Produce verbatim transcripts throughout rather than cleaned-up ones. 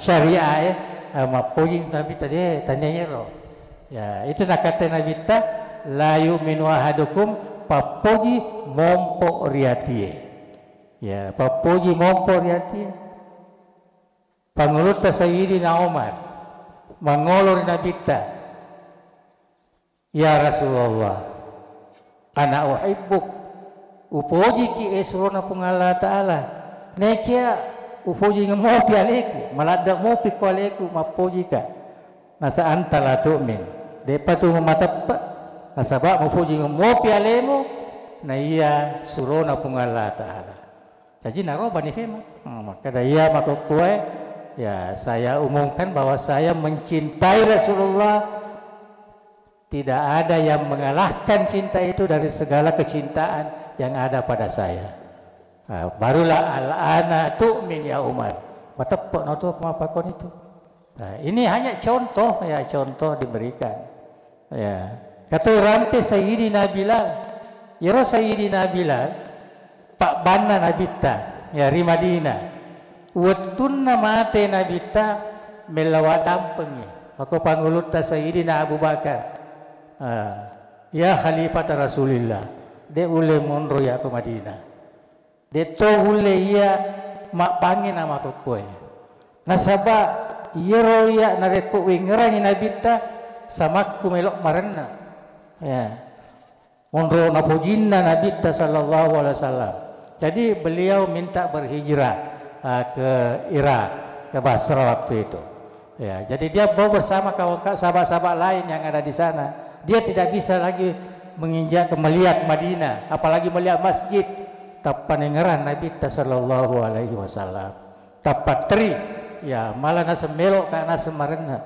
syariah e, eh, mappoji Nabitta de, tania iyaro. Ya, itu nakkatai Nabitta, "La yu'minu ahadukum," pappoji mompo ri atie. Ya, pappoji mompo ri atie. Pangulutta Sayyidina Umar mangolo ri Nabitta, "Ya Rasulullah, ana uhibbuk, upojiki e surona Puang Allah Ta'ala. Nekia upojingeng mopi aleku, maladde mopi ko aleku mappojika." Nasa anta la tu'min, de'pa tu mateppe, nasaba mupojingeng mopi alemu, na iya surona Puang Allah Ta'ala. Jaji naro Bani Fema. Hmm, makkeda iya makkukkuae, ya, saya umumkan bahwa saya mencintai Rasulullah. Tidak ada yang mengalahkan cinta itu dari segala kecintaan yang ada pada saya. Ah, barulah al-ana tu'min ya Umar. Mateppe no tu kemapakkon itu. Nah, ini hanya contoh, ya, contoh diberikan. Ya. Katoi rampe Sayyidina Bilal. Iyaro Sayyidina Bilal, pabbanna Nabitta, ya, ri Madinah. Wettunna mate Nabitta, mella waddampengngi. Mako pangulutta Sayyidina Abu Bakar. Ah, ya Khalifata Rasulillah, de ulle monro iya ko Madinah. De'to ulle iya mabbangngi na makkukkuae. Nasaba iyaro iya narekko wengngerangi Nabitta, samakku melo marenna. Ya. Monro napojinna Nabitta sallallahu alaihi wasallam. Jadi beliau minta berhijrah, ah, ke Irak, ke Basra waktu itu. Ya, jadi dia mau bersama kawan-kawan, sahabat-sahabat lain yang ada di sana. Dia tidak bisa lagi menginjak, melihat Madinah, apalagi melihat masjid. Tappa nengngerang Nabitta sallallahu alaihi wasallam. Tappa teri, ya, malah naseng melo ka naseng marenna.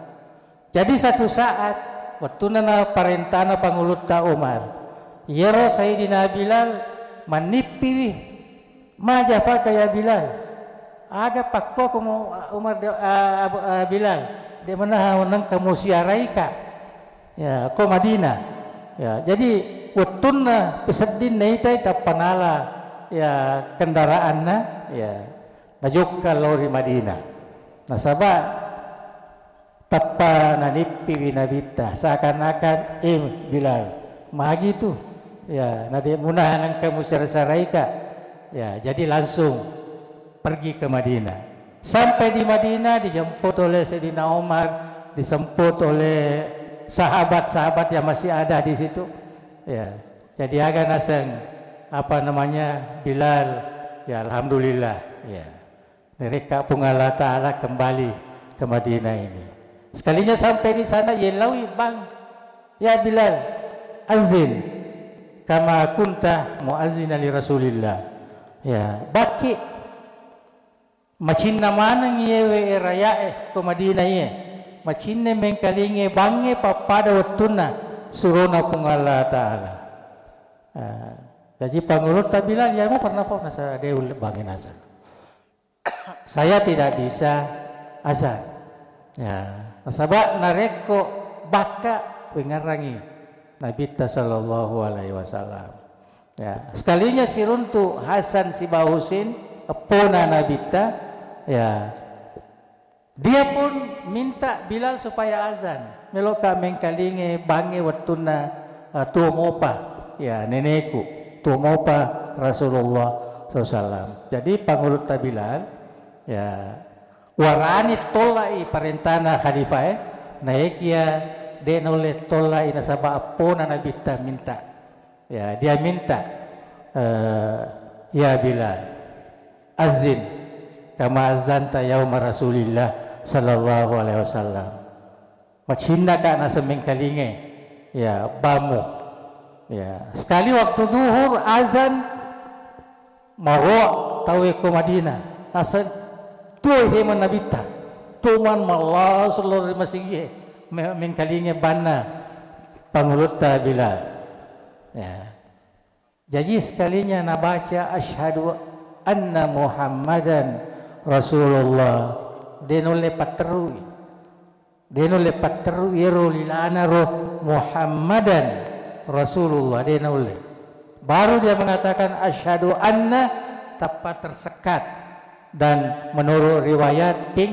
Jadi satu saat, wettunna naparentana pangulutta Umar, iyaro Sayyidina Bilal mannippiwi. "Ma jafaka ya Bilal?" Aga pakkuakomu Umar de-, a-, Abu-, a-, Bilal? De menaha nengka musiaraika. Ya, ko Madinah. Ya, jadi wettunna pesedding naitai tappa nala, ya, kendaraanna, ya, najokka lao ri Madinah. Nasaba tappa nanippiwi Nabitta, seakan-akan, "Eh, Bilal, magi tu? Ya, nade munaha nengka musara-saraika." Ya, jadi langsung pergi ke Madinah. Sampai di Madinah, dijemput oleh Sayyidina Umar, dijemput oleh sahabat-sahabat yang masih ada di situ. Ya, jadi aga naseng, apa namanya, Bilal. Ya, alhamdulillah. Ya. Narekka Puang Allah Ta'ala kembali ke Madinah ini. Sekalinya sampai di sana, yelaui bang, "Ya Bilal, azin kama kunta muazzinan li Rasulillah." Ya, bakki macinna maneng iyewe rayae ko Madinah iye. Macinna mengkalinge bangnge pappada wettunna surona Puang Allah Ta'ala. Ah, jaji pangulutta Bilal, ya, mau pernah pau nasa de ulle bangnge nasa. Saya tidak bisa azan. Ya, nasaba narekko bakka wengngerangi Nabitta sallallahu alaihi wasallam. Ya, sekalinya siruntu Hasan sibawa Husin, eppona Nabitta, ya, dia pun minta Bilal supaya azan. Meloka mengkalinge bangnge wettunna, eh, tuo mopa, ya, neneku, tuo mopa Rasulullah sallallahu alaihi wasallam. Jadi pangulutta Bilal, ya, warani tollai parentana khalifae, naekia de naulle tollai nasaba eppona Nabitta minta. Ya, dia minta, eh, "Ya Bilal, azin kama azanta yauma Rasulillah sallallahu alaihi wasallam." Macinnaka naseng mengkalinge, ya, bammu. Ya, sekali waktu zuhur azan, maroa tauwe ko Madinah. Naseng tuo hemeng Nabitta. Tuo man malla sallallahu alaihi wasallam me-, mengkalinge banna pangulutta Bilal. Ya. Jaji sekalinya nabaca, "Asyhadu anna Muhammadan Rasulullah." De nulle patterui. De nulle patterui ero lilana ro Muhammadan Rasulullah. De nulle. Baru dia mengatakan, "Asyhadu anna," tappa tersekat. Dan menurut riwayat, ping